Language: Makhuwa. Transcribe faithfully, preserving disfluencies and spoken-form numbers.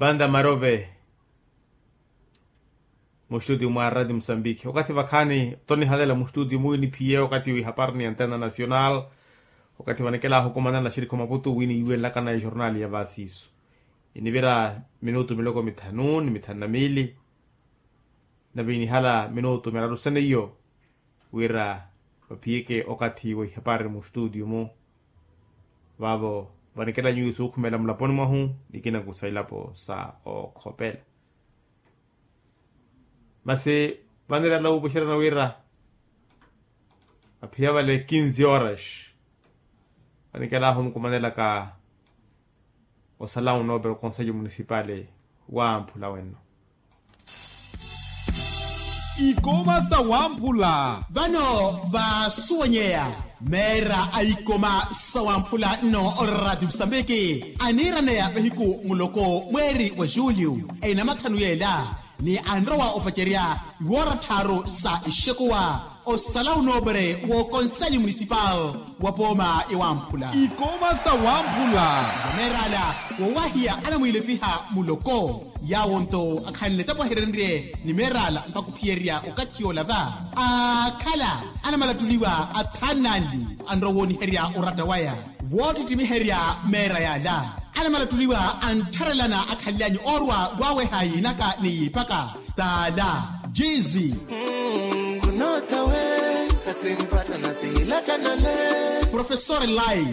Panta marove. Mustutio mwa radio musambiki okathi vakhaani tonihalela mustutio mwiiniphiye okathi wihapari ni antena nacional. Okathi vanikela ahukumanela xirikho maputu winiiwenlakana ejornali ya vasiiso. Inivira minutu miloko mithanu ni mithanu na miili. Naviinihala minutu miraru sene iyo wira vaphiyeke okathi wa ihapari mustutio mu. Vavo vanikela nyuwo suukhumela mulaponi mwahu nikina nkusa ilapo sa okhopela. Masi vanirala wuupuxerana wira vaphiya vale kinzi horas vanikelahu omukumanelaka osalão nobre oconselho municipal wamphula wenno. Ikoma sa wamphula. Vano vasuwenyeya meera a ikoma sa wamphula nno oradio musambiki aniiraneya vahiku muloko mweeri wa julio enamathanu yeela ni anrowa opacerya iwoora tthaaru sa ixekuwa osalão nobre w'oconselho municipal wa pooma ya wamphula. Ikoma sa wamphula. Meerala wowahiya anamwiilepiha muloko yawo nto akhanle tapo ahirenrye ni meerala mpakhuphiyerya okathi yoola va akhala anamalattuliwa athaani nanli anrowooniherya oratta waya woottittimiherya meera yaala anamalattuliwa anttharelana akhanly'anyu oorwa waaweha yiinaka ni yiipaka taala jiizi. Nkunootha we khatsimpatthana tsihilatthana le. Professor lai.